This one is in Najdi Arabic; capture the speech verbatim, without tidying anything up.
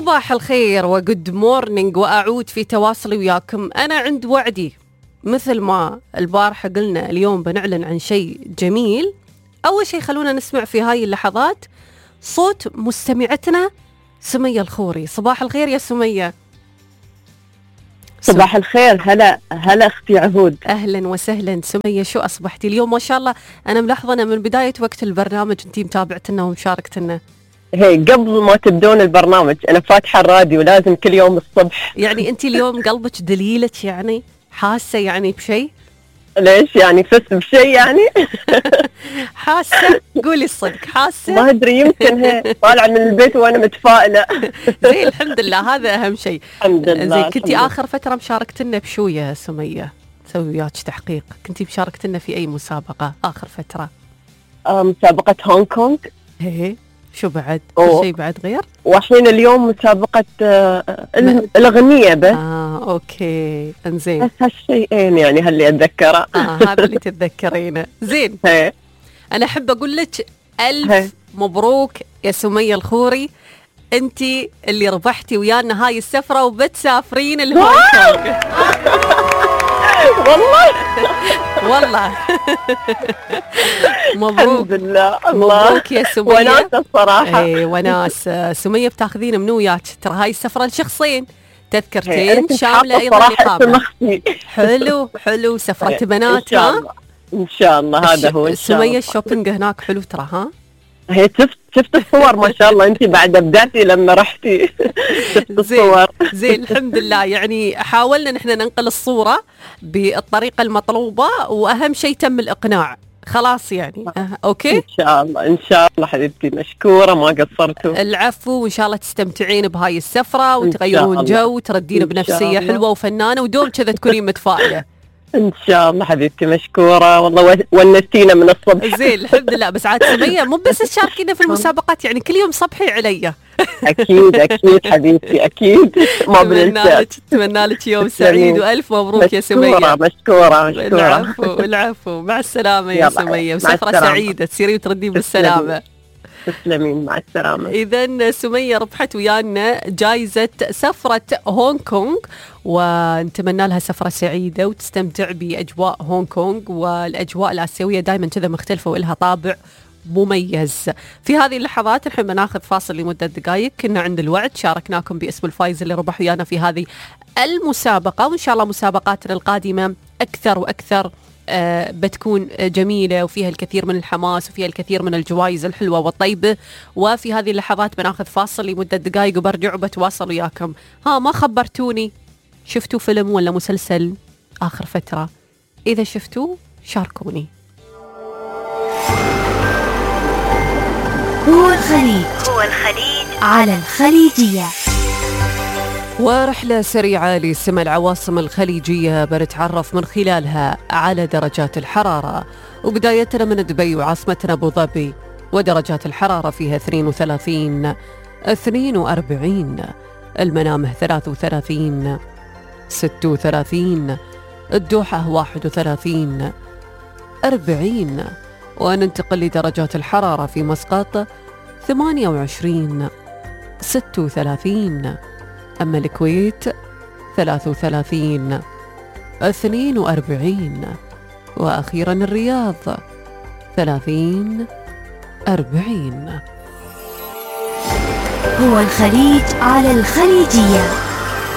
صباح الخير وجود مورنينج، وأعود في تواصلي وياكم. أنا عند وعدي مثل ما البارحة قلنا اليوم بنعلن عن شيء جميل. أول شيء خلونا نسمع في هاي اللحظات صوت مستمعتنا سمية الخوري. صباح الخير يا سمية. صباح الخير. هلا هلا اختي عهود. اهلا وسهلا سمية، شو اصبحتي اليوم؟ ما شاء الله انا ملاحظه من بدايه وقت البرنامج انتي متابعتنا ومشاركتنا. هي قبل ما تبدون البرنامج انا فاتحه الراديو لازم كل يوم الصبح. يعني انتي اليوم قلبك دليلك، يعني حاسه يعني بشيء؟ ليش يعني فزت بشيء يعني؟ حاسه؟ قولي الصدق حاسه؟ ما ادري، يمكن هي طالعه من البيت وانا متفائله. زين الحمد لله، هذا اهم شيء. الحمد لله. زين كنتي اخر فتره مشاركتنا بشو يا سميه؟ سوي وياك تحقيق، كنتي مشاركتنا في اي مسابقه اخر فتره؟ آه مسابقه هونغ كونغ. ايه شو بعد؟ أوه. شيء بعد غير؟ وحين اليوم مسابقه آه الاغنيه بس. اه اوكي انزين. بس هالشيئين يعني هاللي اتذكره. اه هذا اللي تتذكرينه. زين. هي. انا احب اقول لك الف هي. مبروك يا سمية الخوري، انتي اللي ربحتي ويانا هاي السفره وبتسافرين الهونغ كونغ. والله والله مبروك. الحمد لله. الله مبروك يا سمية. وناس الصراحه. اي وناس. سمية بتاخذين منو وياك؟ ترى هاي السفره لشخصين، تذكرتين شامله ايضا اقامه. حلو حلو، سفره بنات. ها ان شاء الله هذا هو. ان شاء الله سمية الشوبينج هناك حلو ترى. ها هي شفت شفت الصور ما شاء الله، انت بعد بداتي لما رحتي شفت الصور. زين الحمد لله. يعني حاولنا نحن ننقل الصورة بالطريقة المطلوبة، واهم شيء تم الاقناع خلاص يعني. أه. اوكي ان شاء الله ان شاء الله حبيبتي، مشكورة ما قصرتوا. العفو، وان شاء الله تستمتعين بهاي السفرة وتغيرون جو وتردين بنفسية حلوة وفنانة، ودوم كذا تكونين متفائلة. ان شاء الله حبيبتي، مشكوره والله ونستينا من الصبح. زين الحمد لله. بس عاد سمية مو بس تشاركينا في المسابقات، يعني كل يوم صبحي علي. اكيد اكيد حبيبتي اكيد ما بننسى. اتمنى لك يوم سعيد والف مبروك يا سمية. مشكوره مشكوره مشكوره. العفو العفو. مع السلامه يا سمية، وسفره سعيده تسيري وتردين بالسلامه. تسلمين مع السلامة. إذن سمية ربحت ويانا جائزة سفرة هونغ كونغ، ونتمنى لها سفرة سعيدة وتستمتع بأجواء هونغ كونغ. والأجواء الآسيوية دائما كذا مختلفة وإلها طابع مميز. في هذه اللحظات نحن بناخذ فاصل لمدة دقائق. كنا عند الوعد شاركناكم باسم الفايز اللي ربح ويانا في هذه المسابقة، وإن شاء الله مسابقاتنا القادمة أكثر وأكثر آه بتكون جميلة وفيها الكثير من الحماس وفيها الكثير من الجوائز الحلوة والطيبة. وفي هذه اللحظات بناخذ فاصل لمدة دقائق وبرجع وبتواصل وياكم. ها ما خبرتوني، شفتوا فيلم ولا مسلسل آخر فترة؟ إذا شفتوا شاركوني. هو الخليج هو الخليج على الخليجية. ورحلة سريعة لسمع العواصم الخليجية بنتعرف من خلالها على درجات الحرارة، وبدايتنا من دبي وعاصمتنا أبو ظبي، ودرجات الحرارة فيها اثنين وثلاثين اثنين وأربعين، المنامه ثلاثة وثلاثين ستة وثلاثين، الدوحة واحد وثلاثين أربعين، وننتقل لدرجات الحرارة في مسقط ثمانية وعشرين ستة وثلاثين، أما الكويت ثلاثة وثلاثين اثنين وأربعين، وأخيرا الرياض ثلاثين أربعين. هو الخليج على الخليجية.